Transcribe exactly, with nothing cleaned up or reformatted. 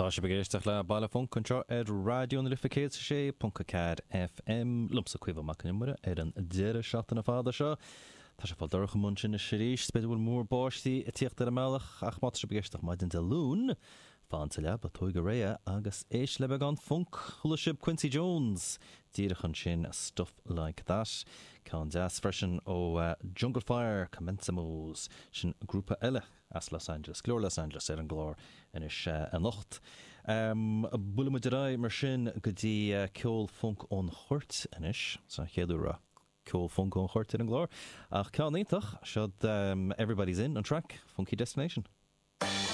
Tá sibh ag éisteacht le Baile Func anseo ar Raidió na Life céad sé ponc a ceathair FM liomsa Caoimhe Mac Con Iomaire ar an deireadh seachtaine fada seo. Tá sé fáil dorcha amuigh ansin arís, b'fhéidir bhfuil múr báistí ag tíocht ar an mbealach ach má tá sibh ag éisteacht maidin Dé Luain, fan sa leaba tóig go réidh agus éist le beagán funk chuala sibh Quincy Jones díreach ansin Stuff Like That. Ceann deas freisin ó uh, Jungle Fire Comencemos sin grúpa eile as Los Angeles, glór Los Angeles ar an gclár anois uh, anocht. Um, Buailfidh muid ar aghaidh mar sin go dtí uh, ceol funk ón Chóirt anois sa chéad uair ceol funk ón Chóirt ar an gclár ach ceann iontach seo um, Everybody's In an track Funky Destination.